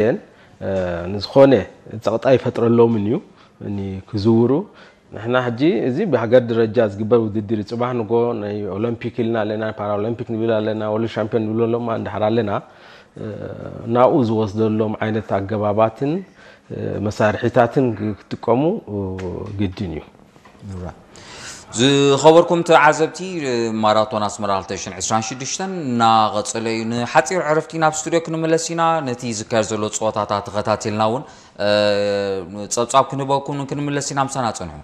እየን። ንዝኾነ ጸቕጣ ይፈጥረሎምን እዩ ክዝውሩ። ንሕና ሕጂ እዚ ብሃገር ደረጃ ዝግበር ውድድር እዩ። ጽባሕ ንጎ ናይ ኦሎምፒክ ኢልና ኣለና፣ ፓራኦሎምፒክ ንብል ኣለና፣ ወርልድ ሻምፒዮን ንብለሎም እንድሕር ኣለና፣ ናብኡ ዝወስደሎም ዓይነት ኣገባባትን መሳርሒታትን ክጥቀሙ ግድን እዩ። ዝኸበርኩም ተዓዘብቲ፣ ማራቶን ኣስመራ ክልተ ሽሕን ዕስራን ሽዱሽተን እናቐጸለ እዩ። ንሓጺር ዕረፍቲ ናብ ስቱድዮ ክንምለስ ኢና። ነቲ ዝካየድ ዘሎ ጸወታታት ተኸታቲልና እውን ጸብጻብ ክንህበኩም ክንምለስ ኢና። ምሳና ጽንሑ።